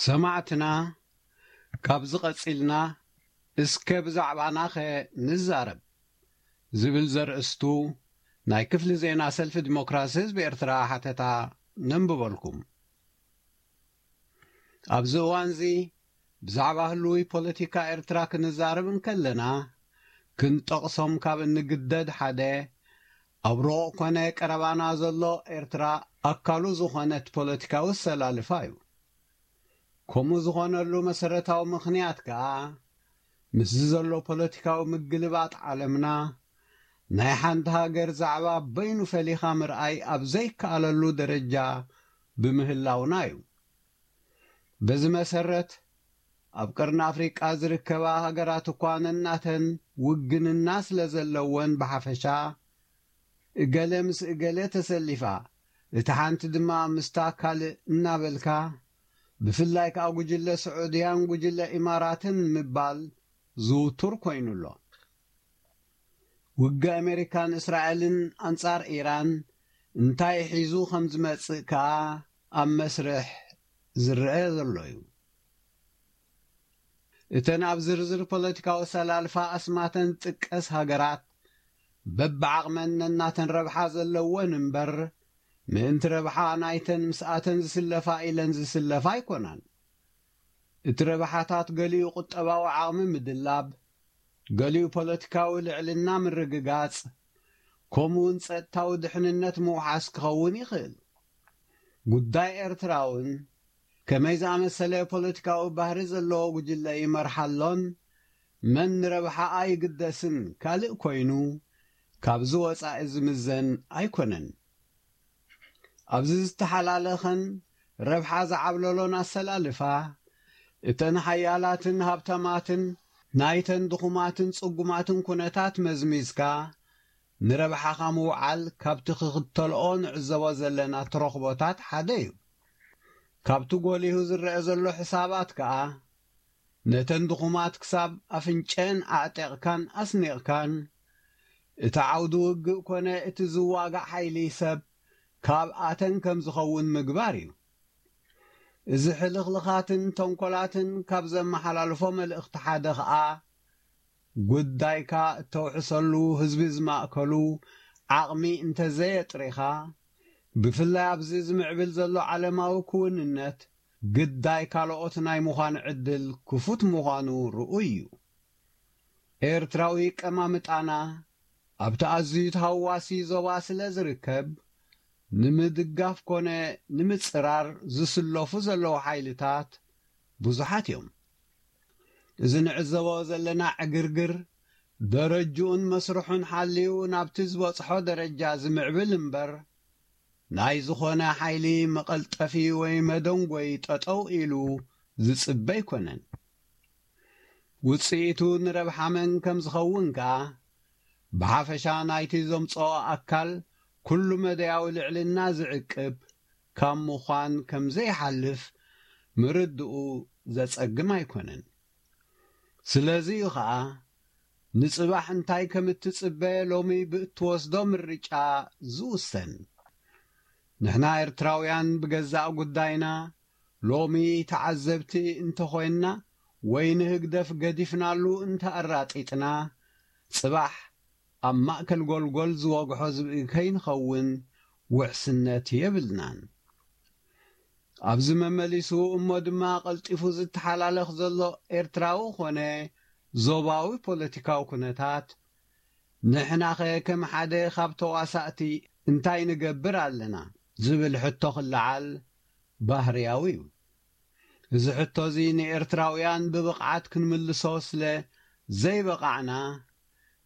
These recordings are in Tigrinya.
ሰማዕትና፣ ካብዚ ቀጺልና እስከ ብዛዕባናኸ ንዛረብ ዝብል ዘርእስቱ ናይ ክፍሊ ዜና ሰልፊ ዲሞክራሲ ህዝቢ ኤርትራ ሓተታ ነንብበልኩም። ኣብዚ እዋንዚ ብዛዕባ ህሉዊ ፖለቲካ ኤርትራ ክንዛረብ እንከለና፣ ክንጠቕሶም ካብ እንግደድ ሓደ፣ ኣብ ርሑቕ ኮነ ቀረባና ዘሎ ኤርትራ ኣካሉ ዝኾነት ፖለቲካዊ ኣሰላልፋ እዩ። ከምኡ ዝኾነሉ መሰረታዊ ምኽንያት ከኣ፣ ምስዚ ዘሎ ፖለቲካዊ ምግልባጥ ዓለምና፣ ናይ ሓንቲ ሃገር ዛዕባ በይኑ ፈሊኻ ምርኣይ ኣብ ዘይከኣለሉ ደረጃ ብምህላውና እዩ። በዚ መሰረት፣ ኣብ ቀርኒ ኣፍሪቃ ዝርከባ ሃገራት እኳ ነናተን ውግንና ስለ ዘለወን ብሓፈሻ፣ እገለ ምስ እገለ ተሰሊፋ፣ እታ ሓንቲ ድማ ምስታ ካልእ እናበልካ፣ ብፍላይ ከኣ ጉጅለ ስዑድያን ጉጅለ ኢማራትን ምባል ዝውቱር ኮይኑ ኣሎ። ውግእ ኣሜሪካን እስራኤልን ኣንጻር ኢራን እንታይ ሒዙ ከም ዝመጽእ ከኣ ኣብ መስርሕ ዝረአ ዘሎ እዩ። እተን ኣብ ዝርዝር ፖለቲካዊ ኣሰላልፋ ኣስማተን ዝጥቀስ ሃገራት፣ በብዓቕመን ነናተን ረብሓ ዘለወን እምበር፣ ምእንቲ ረብሓ ናይተን ምስኣተን ዝስለፋ ኢለን ዝስለፋ ኣይኮናን። እቲ ረብሓታት ገሊኡ ቁጠባዊ ዓቕሚ ምድላብ፣ ገሊኡ ፖለቲካዊ ልዕልና ምርግጋጽ፣ ከምኡውን ጸጥታዊ ድሕንነት ምውሓስ ክኸውን ይኽእል። ጉዳይ ኤርትራ እውን ከመይ ዝኣመሰለ ፖለቲካዊ ባህሪ ዘለዎ ጉጅለ ይመርሓ ኣሎን መን ንረብሓኣ ይግደስን ካልእ ኮይኑ፣ ካብዚ ወጻኢ ዝምዘን ኣይኮነን። ኣብዚ ዝተሓላለኸን ረብሓ ዝዓብለሎን ኣሰላልፋ፣ እተን ሓያላትን ሃብታማትን ናይተን ድኹማትን ጽጉማትን ኩነታት መዝሚዝካ፣ ንረብሓኻ ምውዓል ካብቲ ክኽተልኦ ንዕዘቦ ዘለና ተረኽቦታት ሓደ እዩ። ካብቲ ጎሊሁ ዝረአ ዘሎ ሕሳባት ከኣ፣ ነተን ድኹማት ክሳብ ኣፍንጨን ኣዕጢቕካን ኣስኒቕካን፣ እቲ ዓውዲ ውግእ ኮነ እቲ ዝዋጋእ ሓይሊ ሰብ ካብኣተን ከም ዝኸውን ምግባር እዩ። እዚ ሕልኽልኻትን ተንኮላትን ካብ ዘመሓላልፎ መልእኽቲ ሓደ ኸኣ፣ ጉዳይካ እተውሕሰሉ ህዝቢ ዝማእከሉ ዓቕሚ እንተዘየጥሪኻ፣ ብፍላይ ኣብዚ ዝምዕብል ዘሎ ዓለማዊ ክውንነት፣ ግዳይ ካልኦት ናይ ምዃን ዕድል ክፉት ምዃኑ ርኡይ እዩ። ኤርትራዊ ቀማምጣና ኣብቲ ኣዝዩ ተሃዋሲ ዞባ ስለ ዝርከብ፣ ንምድጋፍ ኮነ ንምጽራር ዝስለፉ ዘለዉ ሓይልታት ብዙሓት እዮም። እዚ ንዕዘቦ ዘለና ዕግርግር፣ ደረጅኡን መስርሑን ሓልዩ ናብቲ ዝበጽሖ ደረጃ ዝምዕብል እምበር፣ ናይ ዝኾነ ሓይሊ መቐልጠፊ ወይ መደንጎይ ጠጠው ኢሉ ዝጽበ ኣይኮነን። ውጽኢቱ ንረብሓ መን ከም ዝኸውን ከኣ፣ ብሓፈሻ ናይቲ ዘምጽኦ ኣካል ኩሉ መደያዊ ልዕልና ዝዕቅብ ካብ ምዃን ከም ዘይሓልፍ ምርድኡ ዘጸግም ኣይኮነን። ስለዚ እዩ ኸኣ፣ ንጽባሕ እንታይ ከም እትጽበ ሎሚ ብእትወስዶ ምርጫ ዝውሰን። ንሕና ኤርትራውያን ብገዛእ ጉዳይና ሎሚ ተዓዘብቲ እንተኾይንና ወይ ንህግደፍ ገዲፍናሉ እንተኣራጢጥና፣ ጽባሕ ኣብ ማእከል ጎልጎል ዝወግሖ ዝብኢ ከይንኸውን ውሕስነት የብልናን። ኣብዚ መመሊሱ እሞ ድማ ቀልጢፉ ዝተሓላለኽ ዘሎ ኤርትራዊ ኾነ ዞባዊ ፖለቲካዊ ኩነታት፣ ንሕናኸ ከም ሓደ ካብ ተዋሳእቲ እንታይ ንገብር ኣለና ዝብል ሕቶ ክለዓል ባህርያዊ እዩ። እዚ ሕቶ እዚ ንኤርትራውያን ብብቕዓት ክንምልሶ ስለ ዘይበቓዕና፣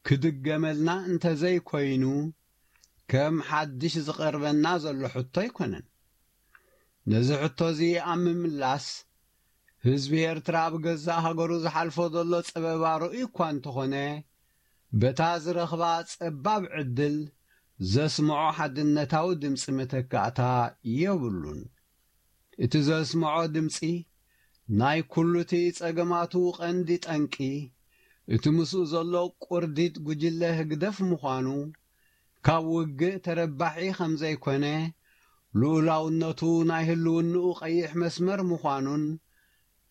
ክድገመልና እንተዘይኮይኑ፣ ከም ሓድሽ ዝቐርበና ዘሎ ሕቶ ኣይኮነን። ነዚ ሕቶ እዚ ኣብ ምምላስ፣ ህዝቢ ኤርትራ ኣብ ገዛእ ሃገሩ ዝሓልፎ ዘሎ ጸበባ ርኡይ እኳ እንተኾነ፣ በታ ዝረኽባ ጸባብ ዕድል ዘስምዖ ሓድነታዊ ድምጺ መተካእታ የብሉን። እቲ ዘስምዖ ድምጺ ናይ ኩሉ እቲ ጸገማቱ ቀንዲ ጠንቂ፣ እቲ ምስኡ ዘሎ ቁርዲድ ጉጅለ ህግደፍ ምዃኑ፣ ካብ ውግእ ተረባሒ ከም ዘይኮነ፣ ልኡላውነቱ ናይ ህልውንኡ ቀይሕ መስመር ምዃኑን፣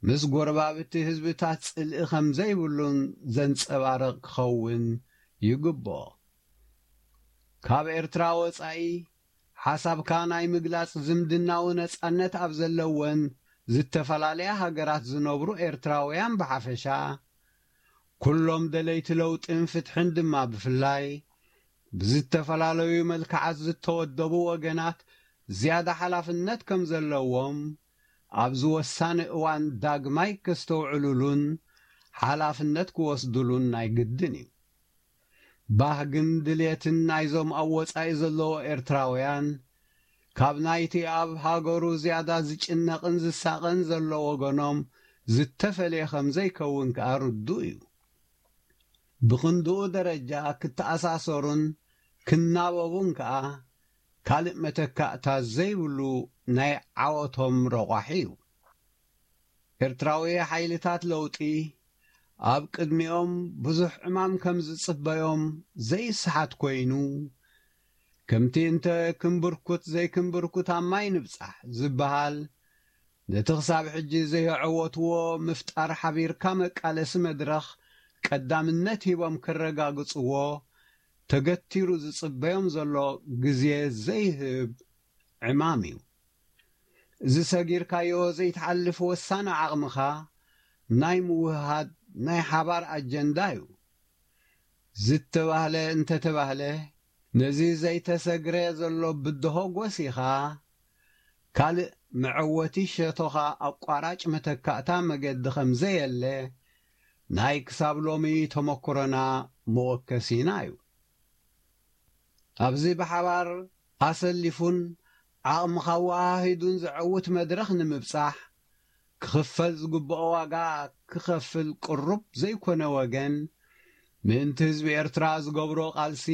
ምስ ጎረባብቲ ህዝብታት ጽልኢ ከም ዘይብሉን ዘንጸባርቕ ክኸውን ይግብኦ። ካብ ኤርትራ ወጻኢ ሓሳብካ ናይ ምግላጽ ዝምድናዊ ነጻነት ኣብ ዘለወን ዝተፈላለያ ሃገራት ዝነብሩ ኤርትራውያን ብሓፈሻ፣ ኩሎም ደለይቲ ለውጥን ፍትሕን ድማ ብፍላይ፣ ብዝተፈላለዩ መልክዓት ዝተወደቡ ወገናት ዝያዳ ሓላፍነት ከም ዘለዎም፣ ኣብዚ ወሳኒ እዋን ዳግማይ ከስተውዕሉሉን ሓላፍነት ክወስዱሉን ናይ ግድን እዩ። ባህግን ድልየትን ናይዞም ኣብ ወጻኢ ዘለዉ ኤርትራውያን፣ ካብ ናይቲ ኣብ ሃገሩ ዝያዳ ዝጭነቕን ዝሳቐን ዘሎ ወገኖም ዝተፈልየ ከም ዘይከውን ከኣ ርዱእ እዩ። ብኽንድኡ ደረጃ ክተኣሳሰሩን ክናበቡን ከኣ ካልእ መተካእታ ዘይብሉ ናይ ዓወቶም ረቋሒ እዩ። ኤርትራዊ ሓይልታት ለውጢ ኣብ ቅድሚኦም ብዙሕ ዕማም ከም ዝጽበዮም ዘይሰሓት ኮይኑ፣ ከምቲ እንተ ክንብርኩት ዘይክንብርኩት ኣብ ማይ ንብጻሕ ዝበሃል፣ ነቲ ክሳብ ሕጂ ዘየዐወትዎ ምፍጣር ሓቢርካ መቃለሲ መድረኽ ቀዳምነት ሂቦም ክረጋግጽዎ ተገቲሩ ዝጽበዮም ዘሎ ግዜ ዘይህብ ዕማም እዩ። እዚ ሰጊርካዮ ዘይትሓልፍ ወሳኒ ዓቕምኻ ናይ ምውህሃድ ናይ ሓባር ኣጀንዳ እዩ። ዝተባህለ እንተተባህለ፣ ነዚ ዘይተሰግረ ዘሎ ብድሆ ጎሲኻ፣ ካልእ መዐወቲ ሸቶኻ ኣቋራጭ መተካእታ መገዲ ከም ዘየለ ናይ ክሳብ ሎሚ ተመክሮና መወከሲና እዩ። ኣብዚ ብሓባር ኣሰሊፉን ዓቕምኻ ኣወሃሂዱን ዘዐውት መድረኽ ንምብጻሕ፣ ክኽፈል ዝግብኦ ዋጋ ክኸፍል ቅሩብ ዘይኮነ ወገን፣ ምእንቲ ህዝቢ ኤርትራ ዝገብሮ ቃልሲ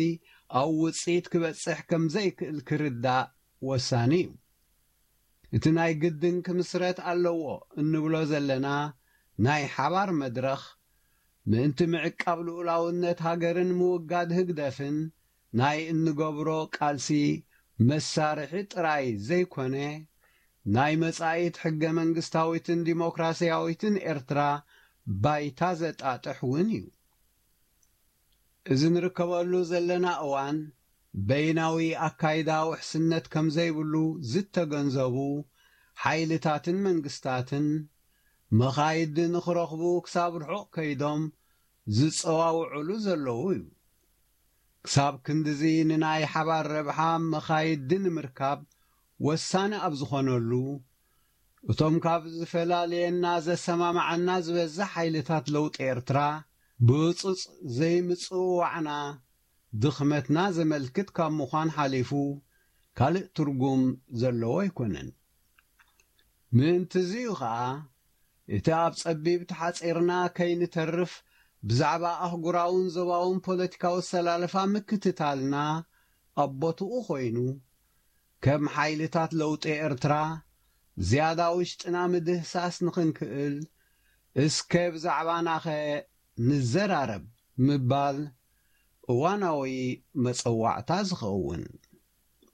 ኣብ ውጽኢት ክበጽሕ ከም ዘይክእል ክርዳእ ወሳኒ እዩ። እቲ ናይ ግድን ክምስረት ኣለዎ እንብሎ ዘለና ናይ ሓባር መድረኽ፣ ምእንቲ ምዕቃብ ልኡላውነት ሃገርን ምውጋድ ህግደፍን ናይ እንገብሮ ቃልሲ መሳርሒ ጥራይ ዘይኮነ፣ ናይ መጻኢት ሕገ መንግስታዊትን ዲሞክራስያዊትን ኤርትራ ባይታ ዘጣጥሕ እውን እዩ። እዚ ንርከበሉ ዘለና እዋን በይናዊ ኣካይዳ ውሕስነት ከም ዘይብሉ ዝተገንዘቡ ሓይልታትን መንግስታትን፣ መኻይዲ ንኽረኽቡ ክሳብ ርሑቕ ከይዶም ዝጸዋውዑሉ ዘለዉ እዩ። ክሳብ ክንድዚ ንናይ ሓባር ረብሓ መኻይዲ ንምርካብ ወሳኒ ኣብ ዝኾነሉ፣ እቶም ካብ ዝፈላለየና ዘሰማምዓና ዝበዝሕ ሓይልታት ለውጢ ኤርትራ፣ ብህጹጽ ዘይምጽውዋዕና ድኽመትና ዘመልክት ካብ ምዃን ሓሊፉ ካልእ ትርጉም ዘለዎ ኣይኮነን። ምእንቲ እዚ እዩ ኸኣ፣ እቲ ኣብ ጸቢብ ተሓጺርና ከይንተርፍ ብዛዕባ ኣህጉራውን ዞባውን ፖለቲካዊ ኣሰላልፋ ምክትታልና ኣብ ቦትኡ ኮይኑ፣ ከም ሓይልታት ለውጢ ኤርትራ ዝያዳ ውሽጥና ምድህሳስ ንኽንክእል፣ እስከ ብዛዕባናኸ ንዘራረብ ምባል እዋናዊ መጸዋዕታ ዝኸውን።